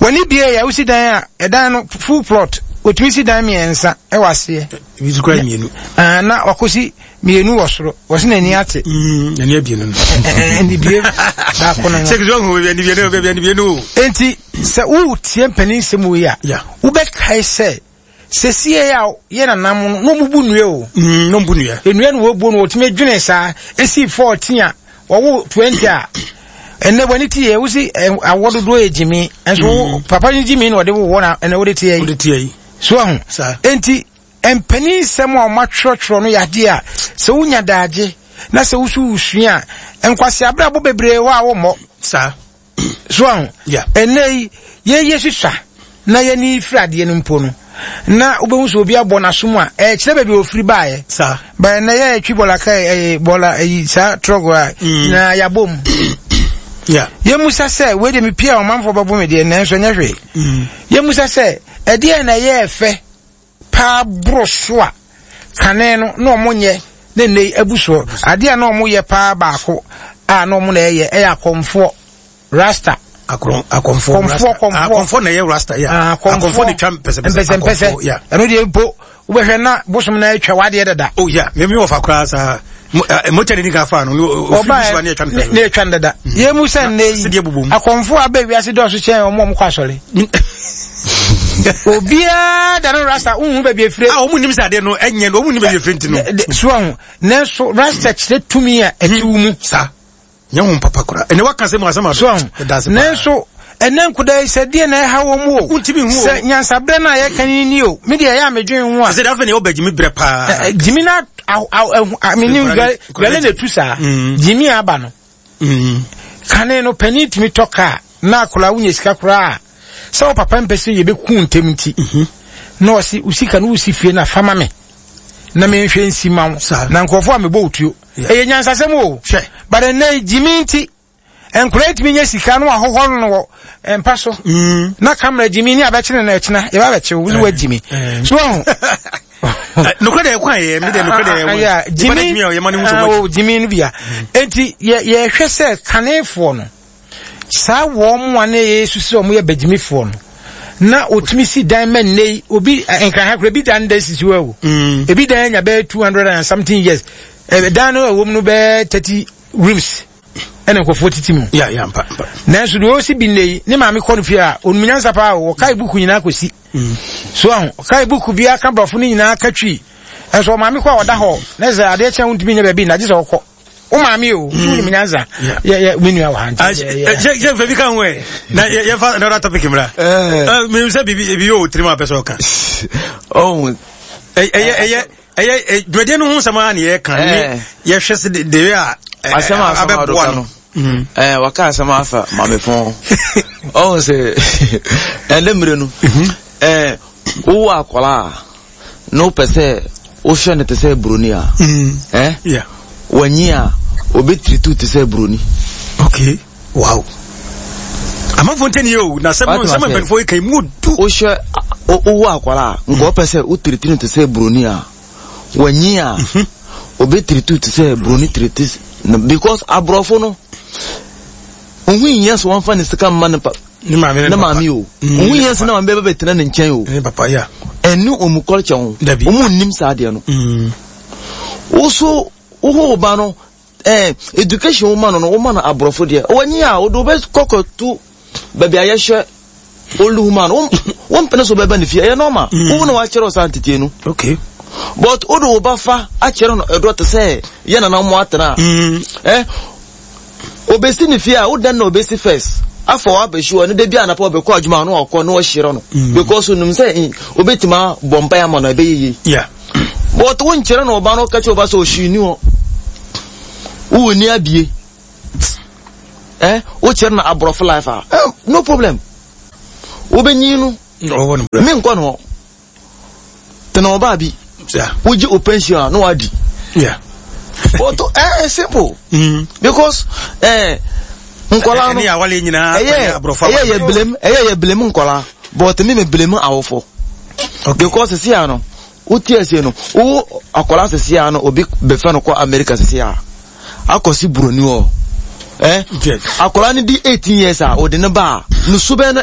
W'ani bie yɛ wosi dan a ɛdan no full plot otumi si dan mmiɛnsa ɛwɔ aseɛ. Ebi nso kura mmienu. Ah, na wakɔsi mmienu wɔ soro wɔsi n'ani ate. Mm, n'ani abie no no. Ɛni bie baako no. Sɛ kisi ɔhu ɛni bie no ɛni bie no. Enti sɛ wotie mpanin nsɛm wei a Yeah. wobɛkae sɛ sɛsie a yɛ nanam no na ɔmubu nnua o. Mm, na ɔmbu nnua. Nnua no wɔbuo no wɔtumi dwene saa esi fourteen a Wɔwo twenty a ɛnɛ w'ani te yɛ wosi awɔ dodoɔ yɛ gyimi nso mm. papa no gyimi na ɔde wowɔ na ɛnɛ wode teɛ yi wode teɛ yi so ahu enti mpanin nsɛm a wɔatwerɛtwerɛ no yɛ adeɛ a sɛ wonya daagye na sɛ woso wosua a nkwasi abrabɔ bebree hɔ a wɔmmɔ saa so ahu ɛnɛ yi yɛyɛ susua na yɛni firi adeɛ no mpo no na wobɛhu sɛ obi abɔ n'asom a ɛkyerɛ baabi a ofiri baeɛ bɛn na yɛtwi bɔla ka ɛyɛ bɔla ɛyi saa trɔgo a mm. na yɛabɔ mu yɛmusa sɛ wei deɛ mepia a ɔmanfoɔ bɛbo me deɛ nanso ɛnyɛ hwee mm. yɛmusa sɛ ɛdeɛ na ɛyɛ ɛfɛ paa boro so a kane no na ɔmo nyɛ ne nne yi abu soɔ adeɛ a na ɔmo yɛ paa baako a na ɔmo na ɛyɛ ɛyɛ akɔmfoɔ rasta akɔmfoɔ kɔmfoɔ akɔmfoɔ na ɛyɛ rasta yɛ ah, akɔmfoɔ na twa mpɛsɛmpɛsɛ mpɛsɛmpɛsɛ ɛno deɛ mpo wobɛhwɛ na bosom na atwa wadeɛ dada oh yeah mimi wɔ fa koraa saa motwa ne nika fa no ɔbaa ne atwa no dada mm. yɛn mu sɛ nnɛ yi akɔmfoɔ abɛ wiase dɔɔso kyɛn wɔn a wɔkɔ asɔre obiara da no rasta wohu baabi afire a wɔn nim sɛ adeɛ no ɛnyɛ no wɔn nim baabi afire nti no so ho nanso rasta kyerɛ tumi a ɛte wo mu saa nyɛ ho papa koraa ɛnɛ waka sɛ mu asɛm ado so nanso ɛnɛ nkoda yi sɛ deɛ na ɛha wɔn mu o wontumi hu sɛ nyansaberɛ no a yɛka no ni o me deɛ ɛyɛ a medwen ho a sɛ deɛ afei ne ɔba gyimi berɛ paa gyimi na menim dwale na ɛtu saa mm. gyimi aba no mm. Kane no panin tumi tɔ kaa na akwadaa wonya sika koraa sɛ wo papa mpɛ sɛ yɛbɛku ntɛm nti mhm. na ɔse wo sika no wosi fie no afa ma me na menhwɛ nsi ma wo na nkurɔfoɔ a mebɔ wo tuo ɛyɛ nyansasɛm o but ɛnɛ gyimi nti nkwadaa tumi nya sika no ahohɔ no wɔ mpa so mm. na kamera gyimi ne abɛkyene no ɛkyena yɛba bɛkye wo ne wagyimi eh. so ɔho nokorɛ deɛ ɛkwan yɛ mi deɛ nokorɛ deɛ ɛwɔ gyimi o gyimi no bia enti yɛhwɛ sɛ kanefoɔ no saa wɔn mu a ne yɛ susu sɛ wɔn yɛ bɛgyimifoɔ no na otumi si dan mɛ nne yi obi nkraha kora ebi dan dan sisi hɔ o mm. ebi dan anya bɛyɛ two hundred and something years dan no ɛwɔ mu no bɛyɛ thirty rooms ɛna nkurɔfoɔ titi mu yeah, yeah, mpa, mpa. Nanso deɛ ɔsi bi nne yi ne maame kɔ no fie a onum nyansa paa o ɔkae buku nyinaa kɔsi mm. So aho ɔkae buku bi aka borɔfo no nyinaa ka twi ɛnso ɔmaame kɔ a ɔda hɔ na sɛ adeɛ kyɛn wontumi nyɛ baabi na gye sɛ ɔkɔ wo maame o mm. wonim nyansa yɛ yɛ me nua wɔ ha nti yɛ yɛ fɛ bi ka ho ɛ na yɛ fa another topic mra menim sɛ biribi ebi yɛ o tirim a pɛ sɛ ɔka ɔho ɛyɛ ɛyɛ ɛyɛ dwumadie no ho nsɛm a ne yɛka ne yɛhwɛ sɛ de a asɛm a asɛm abɛboa no ɛɛ waka asɛm afa maame fɔn ɔho sɛ ɛnɛ mmerɛ no ɛɛ wowɔ akwadaa a na wopɛ sɛ wohwɛ no te sɛ buroni a ɛɛ wanyi a obɛtiritu te sɛ buroni. Okay, wow. Amanfoɔ ntɛni yɛ o na sɛm no sɛm mpanyinfoɔ yi kan mu du. Wohwɛ wowɔ akwadaa a nka wopɛ sɛ wotiritiri no te sɛ buroni a wanyi a obɛtiritu te sɛ buroni tiriti no because aborɔfo no ohun nyɛ so wɔmfa ne sika mma ne pa ne maame ne maame o ohun yɛn sɛ ne maame bɛbɛ bɛtena ne nkyɛn o ne papa ya ɛne ɔmu culture ho dabi ɔmu nnim saa adeɛ no woso woho wo ba no ɛɛ education wo ma no no wo ma no aborɔfo deɛ wɔnyi a wode wobɛ kɔkɔ tu baabi a yɛhwɛ old woman no wɔn mpene so bɛba ne fie ɛyɛ normal wo na wakyerɛ saa ntetie no okay but wode wo ba fa akyerɛ no ɛdɔ te sɛ yɛ nana mo atena ɛ obesi ne fie a wodan na obesi first afa wabɛhyi hɔ ne da bi anapa ɔbɛkɔ adwuma no ɔkɔ na ɔhyerɛ no because onim sɛ obɛtumi abɔ mpaeɛ ama no ɛbɛyɛ yie yeah but wonkyerɛ no ɔba no ɔka kyerɛ ɔba sɛ ɔhwee ni hɔ wowɔ ni abie eh wokyerɛ no aborɔfo life a eh, no problem wobɛnyin no menkɔ no hɔ tena ɔbaa bi wogye o pension a na wadi yeah but eh, eh simple mm. because eh nkɔla no ɛyɛ ɛyɛ yɛ blame ɛyɛ yɛ blame nkɔla but mi mi blame awofo because sisi ano wotie ase no wo akɔla sisi ano obi bɛfɛ no kɔ America sisi a akɔsi buroni hɔ eh akɔla no di eighteen years a ɔde ne ba a ne subɛn no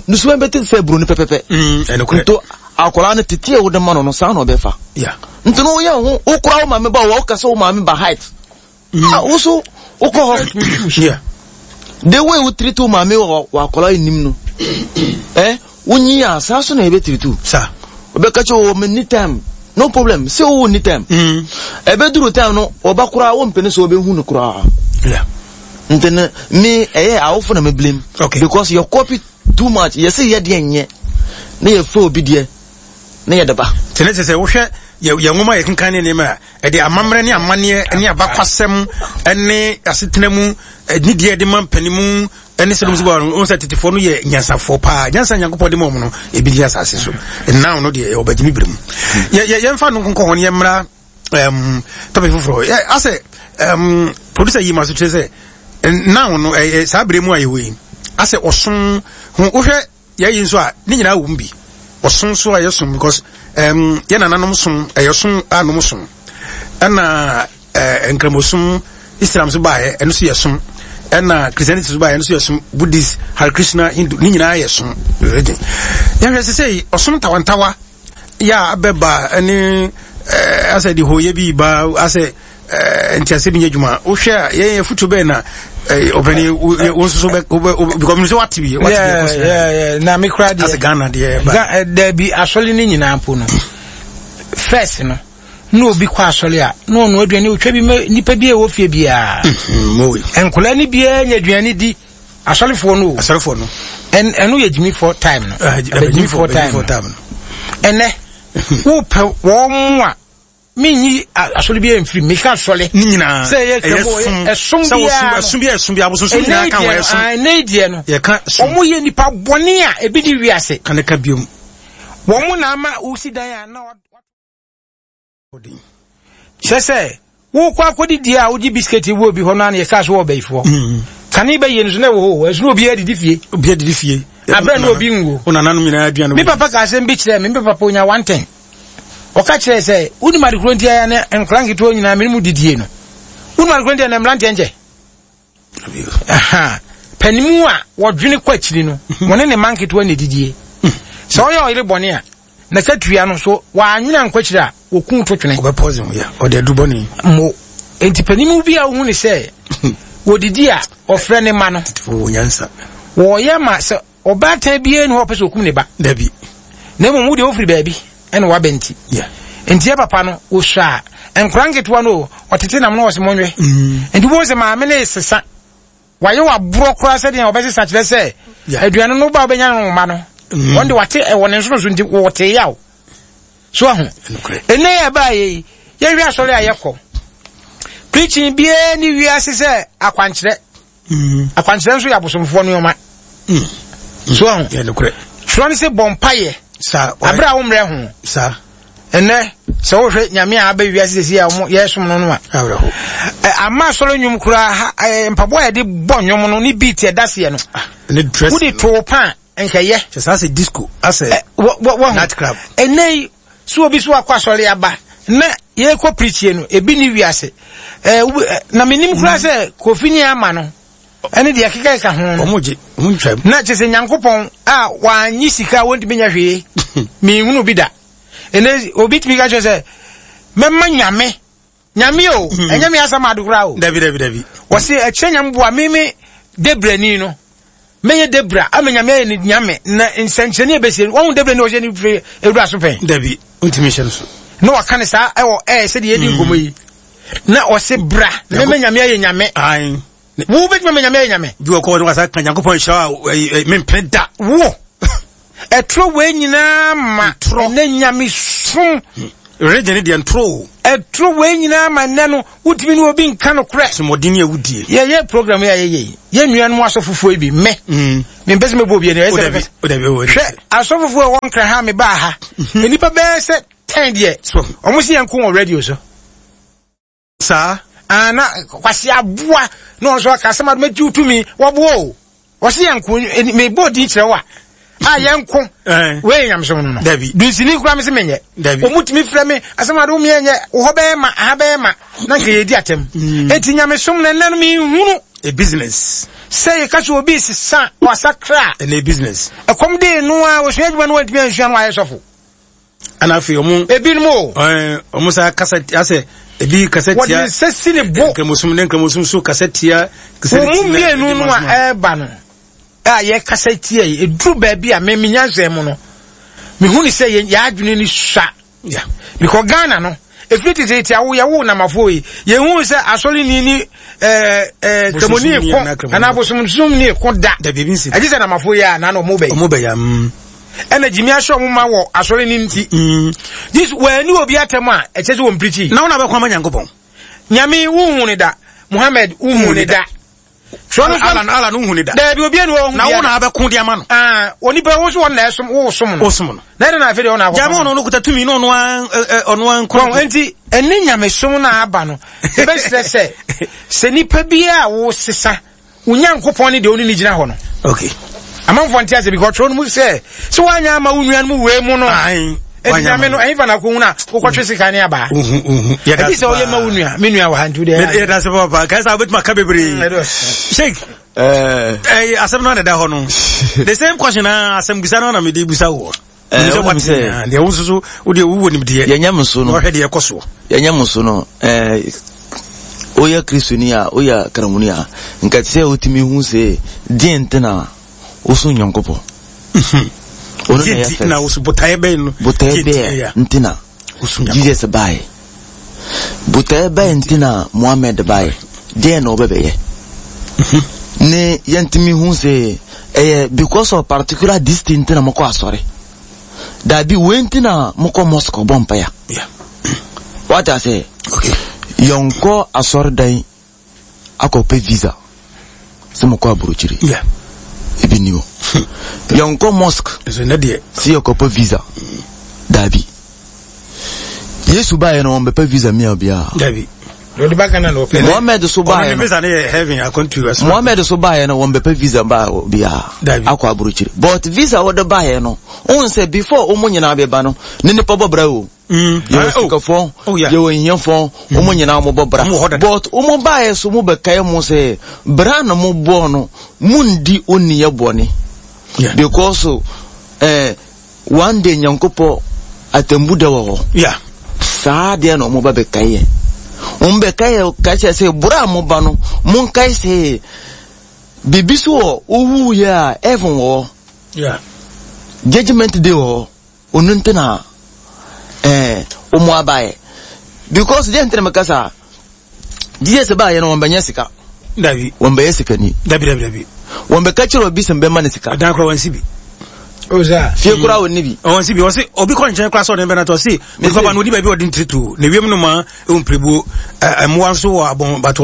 ne subɛn bɛ te sɛ buroni pɛpɛpɛ nto akɔla no tete a wode ma no no saa na ɔbɛfa nti no woyɛ ho wokora wo maame ba wɔ wokasa wo maame ba height ah wo so wokɔ hɔ the way wo treat wo maame wɔ akɔla anim no eh wonyi a saa so na yɛbɛ treat wo wobɛka kyɛ wɔ me ni time no problem sɛ wowɔ ni time ɛbɛduru time no ɔba koraa wompene sɛ wobɛhu no koraa Yeah. Nti no me ɛyɛ awofo na me blame. Okay. Because you copy too much. Yɛsɛ yɛ deɛ nyɛ na yɛfa obi deɛ na yɛde ba. Nti ne kyerɛ sɛ wohwɛ yɛ yɛn nwoma a yɛkenkan ne nneɛma a ɛde amammerɛ ne amanneɛ ne abakwasɛm ne asetena mu ne deɛ ɛde ma mpanimu ne sɛ dɔm no wɔn sɛ tetefoɔ no yɛ nyansafoɔ paa. Nyansa Nyankopɔn de ma wɔn no ebi di asase so. Now no deɛ ɛwɔ bɛgyimi bere mu. Yɛ yɛ yɛmfa no nkonkɔ hɔ ne yɛmmra um, topic foforɔ. Yɛ asɛ um, producer yi ma so kyerɛ sɛ now no ɛyɛ saa bere mu a yɛwɔ yi asɛ ɔsom ho wohwɛ yɛyi nso a ne nyinaa wɔ mu bi ɔsom so a yɛsom because um, yɛ nananom som ɛyɛ som a nom som ɛna uh, nkramosom Islam so baeɛ ɛno so yɛ som ɛna Christianity so baeɛ ɛno so yɛ som Buddhist, Hare Krishna, Hindu ne nyinaa yɛ som religion. Yɛhwɛ sɛ sɛ ɔsom ntawantawa yɛ a abɛba ɛne uh, asɛ de hoyɛ bi ba asɛ uh, ntiase bi nyɛ adwuma. Wohwɛ a yɛn yɛ foto bɛn na ɔbɛni wo nso so bɛ because mi sɛ wate bi wate bi ɛkɔ so. Yeah, yeah, na me kura deɛ asɛ Ghana deɛ ba Ga- eh, dabi asɔre no nyinaa mpo no, first no na obi kɔ asɔre a na ɔno aduane otwa bi ma nipa bi a ɛwɔ fie biara. Mo nkɔla no biara nya aduane di, asɔrefoɔ no o. Asɔrefoɔ no. Ɛn- ɛno yɛ gyimifoɔ time no. Ɛbɛgyimifoɔ time no. time no. Ɛnɛ wopɛ wɔn mu a menyi a- asɔre biara mfiri meka asɔre ne nyinaa sɛ ɛyɛ ɛyɛ som ɛsom sɛ wɔsom biara no. Ɛsom biara, ɛsom biara, abosonsom Ɛnɛ nyinaa ka ho deɛ ɛyɛ no som. ah, ɛnɛ deɛ no yɛka som. Wɔn yɛ nipa bɔne a ebi di wiase. Ka ne ka biom. Wɔn mu na ama wosi dan a na wa- kyerɛ sɛ wokɔ akɔdidi a wogye biscuit wɔ obi hɔ no a na yɛka so wɔ ɔbɛyifoɔ kane bɛyɛ no so na ɛwɔ hɔ ɛso na obiara didi fie. Obiara didi fie. Abrɛ na obi nwo. Wo nananom nyinaa aduane. Me papa ka asɛm bi kyerɛ me. Me papa onya one ten. Ɔka kyerɛ sɛ wonim ade koro nti a ne nkora nketewa nyinaa mene mu didie no, wonim ade koro nti a na mmeranteɛ nkyɛ. Aha. Panimu a wɔdwene kɔ akyiri no, wɔne ne mma nketewa na didie. Sɛ ɔyɛ ɔyere bɔne a na katua no so wɔanwene ankɔ akyiri a wɔku to twene. Ɔbɛ poison yɛ ɔde adu bɔne. Mo enti panimu bi a wohu ne sɛ wɔdidi a ɔfrɛ ne ma no. Tetefoɔ wɔ nyansa. Wɔyɛ ma sɛ ɔbaatan biara ni hɔ a ɔpɛ sɛ ɔkum ne ba. Dabi. Na mmom wo deɛ wofiri baabi ɛna waba nti. Yeah. Nti yɛ papa no wɔsua a nkora nketewa no o, ɔtete nam na ɔsɛ mɔnwɛ. Nti wobɛhu sɛ maame no sesa wayɛ waborɔ koraa sɛdeɛ ɔbɛsesa kyerɛ sɛ Yeah. aduane no ba wobɛnya no ma no. Mm. Wɔn de wate ɛwɔ ne nsono so nti wɔte yaw so aho. Nokorɛ. Ɛnɛ yɛ baa yɛ yi yɛhwɛ asɔre a yɛkɔ preaching biara ne wiase sɛ akwankyerɛ. Akwankyerɛ nso yɛ abosomfoɔ nneɛma so aho. Yɛ nokorɛ. Twerɛ no sɛ bɔ mpayɛ saa aberɛ a wommerɛ ho. Saa. Ɛnɛ sɛ wohwɛ Nyame a aba wiase sɛsi a ɔmo yɛsom no no a awerɛho. Ɛ, ama asɔre nnwom koraa ha, ɛ, mpaboa a yɛde bɔ nnwom no ne beat ɛda seɛ no ne dress wode too pa a nkɛyɛ. Kyɛ saa sɛ disco asɛ Ɛ, wɔ- wɔ- wɔho. night club. Ɛnɛ yi so obi so akɔ asɔre aba na yɛkɔ preachie no ebi ne wiase. Ɛ, wo- ɛ, na menim koraa sɛ Kofi ne ama no ɛne deɛ kekakeka ho no. Ɔmo gye ɔmo ntwa mu. Na kyerɛ sɛ Nyankopɔn a wannye sika a wɔntumi nya hwee menhunu bi da. Ɛnɛ obi tumi ka kyerɛ sɛ mɛma Nyame Nyame o, ɛnyɛ me asɛm ade koraa o. Dabi, dabi, dabi. Wɔse ɛkyerɛ Nyame boa me me debrani no mɛyɛ debra ama Nyame ayɛ ne Nyame na nsɛnkyerɛnne a ɛbɛsie no wɔhu debrani a ɔhyɛ ne firi awura so pɛn. Dabi, wontumi nhyɛ no so. Na wɔka ne saa ɛwɔ ɛɛ sɛdeɛ yɛdi nkɔmmɔ yi na ɔse bra mɛma Nyame ayɛ Nyame. Ae. Wo bɛtumi ama Nyame ayɛ Nyame. Bi wɔ kɔ wɔde wasa ka Nyankopɔn nhyira a ɛyi, ɛyi, mempene da. Wo ɛtoro wei nyinaa ma Ntorɔ. ɛnɛ Nyame som. Religion ne deɛ ntoro o. Ɛtoro wei nyinaa ma nnɛ no wotumi ne obi nka no korɛ. Somɔden ne awudie. Yɛyɛ program yi a yɛyɛ yi, yɛn nuanom asɔfofoɔ yi bi mɛ Mm. mempɛ sɛ mɛbɔ obi ani ɛyɛ O sɛ dabi, mepɛ- o dabi, o dabi. Hwɛ asɔfofoɔ a ɛwɔ Nkra ha mebaa ha nnipa bɛyɛ sɛ ten deɛ So ɔmo si yɛn ko wɔ radio so. Saa. Ah, na Kwasi aboa na ɔno nso aka asɛm ade mɛgye wo tumi wɔboa o wɔsi yɛn ko mebɔ din kyerɛ wo a a yɛn ko. Eh. Wei yɛ nyamesom no no Dabi. Dunsini kura me sɛ menyɛ. Dabi. Ɔmu tumi frɛ me asɛm ade wo meɛnyɛ wo hɔ bɛyɛ ma aha bɛyɛ ma na nka yɛdi atɛm. Enti nyamesom no ɛnɛ no menhunu A business. Sɛ yɛka sɛ obi sesa wasakra a Ɛnɛ business. Ɛkɔm dee no a wɔsua adwuma no wantumi ansua no wayɛ sɔfo. Ɛna afei ɔmo ebinom o ɛɛ ɔmo sa kasa asɛ ebi kasa wɔde tia nsa si ne bo. Nkramosom ne nkramosom so kasa tia. Wɔn mu mmienu no a ɛreba no a yɛkasa tia yi, ɛduru baabi a me me nyansa mu no mehu ne sɛ yɛn yɛn adwene ni sua. Yeah. Because Ghana no Ɛfiri tete awo yɛwo namafoɔ yi, yɛhu sɛ asɔre ni ni ɛɛ ɛɛ kramoni ko anaa bosomsom ni ko da. Ɛgye sɛ namafoɔ yi a na na ɔmo bɛyɛ. Ɔmo bɛyɛ. Mm. Ɛna gyimi ahyɛ ɔmo ma wɔ asɔre ni nti. Mm. Yesu wɔani obi atɛm a ɛkyɛ sɛ wɔn pirikyi. Na wɔn abɛkɔ ama Nyankopɔn. Nyame wuhu ne da. Muhammad wuhu ne da. Ala ala no hu ne da. Dabi obi anu ɔhu. Na wo na abɛko de ama no. Ah, onipa wo so wɔn na ɛsom wo som no. Wo som no. Na ɛna na afei de ɔna akɔ. Jame ɔno no kuta tumi no ɔno an ɔno an kɔ. Wɔn nti ɛne nyamesom na aba no. Ɛbɛsrɛ sɛ sɛ nipa bi a wo sesa wo Nyankopɔn ne deɛ ɔne ne gyina hɔ no. Okay. Amanfoɔ nte ase because ɔtwerɛ no mu sɛ sɛ woanyɛ ama wo nua no mu wei mu no. Ayi. Eti nyame no ɛyin fa na ko huna wokɔtwe sika ne aba. Ɛti sɛ woyɛ ma wo nua me nua wɔ ha nti wo deɛ. Yɛda se papa kae sɛ wobɛtumi aka bebree. Sheik ɛɛ asɛm no adeda hɔ no. The same question na asɛm bisa no na mede bisa wo. Eh, wo sɛ deɛ wo nso so wo deɛ wowɔ nimdeɛ. Yɛnyɛ mo so no. Wɔhwɛ deɛ ɛkɔ soɔ. Yɛnyɛ mo so no. Eh, woyɛ Kristoni a woyɛ Kramoni a nka te sɛ wotumi hu sɛ deɛ nti na woso Nyankopɔn. Ono na yɛ na woso botaeɛ bɛn no. Botaeɛ bɛn nti na Jesus baeɛ. Botaeɛ bɛn nti na Muhammad baeɛ. Deɛ na ɔbɛbɛyɛ. Ne yɛntumi hu sɛ ɛyɛ because of particular this thing nti na mokɔ asɔre. Dabi wei nti na mokɔ mosque bɔ mpaeɛ. Wate ase? Okay. Yɛnkɔ asɔredan akɔpɛ visa sɛ mokɔ aburokyiri. Yeah. Ebi ni hɔ. Yɛnkɔ mosque sɛ yɛkɔpɛ visa. Dabi. Yesu baeɛ no wɔmbɛpɛ visa mia biara. Dabi. Mohammed so baeɛ no. Mohammed so baeɛ no wɔmbɛpɛ visa ba biara. Akɔ aburokyiri. But visa wɔde baeɛ no, wohu sɛ before wɔn nyinaa bɛba no, ne nipa bɔ bra o. Yɛwɔ sikafoɔ, yɛwɔ hiafoɔ, wɔn nyinaa wɔbɔ bra. But wɔn baeɛ so mo bɛkae mo sɛ bra na mo bɔɔ no, mundi oniyɛ bɔne. Because eh, one day Nyankopɔn atembu da wɔ hɔ. Yeah. Saa deɛ na wɔn ba bɛkae yɛ. Wɔn bɛkae yɛ kae kyerɛ sɛ bra a mo ba no, monkae sɛ biribi so wɔ owu yɛ a heaven wɔ hɔ. Yeah. Judgment day wɔ hɔ. Onu nti na eh omu abae. Because deɛ nti na meka saa, Jesus baeɛ no wɔn bɛnyɛ sika. Dabi. Wɔn bɛyɛ sikani. Dabi dabi dabi. Wɔn bɛka kyerɛ obi sɛ mbɛma ne sika. Adan kora wɔn si bi. Oza. Fie kora wɔn ni bi. Wɔn si bi wɔn si obi kɔ nkyɛn kora sɛ ɔde bɛna tɔ si. Nipa ba no odi baabi ɔde ntiri tu. Ne wiem no ma ewu mpiribuo ɛmoa nso wɔ abɔn bato.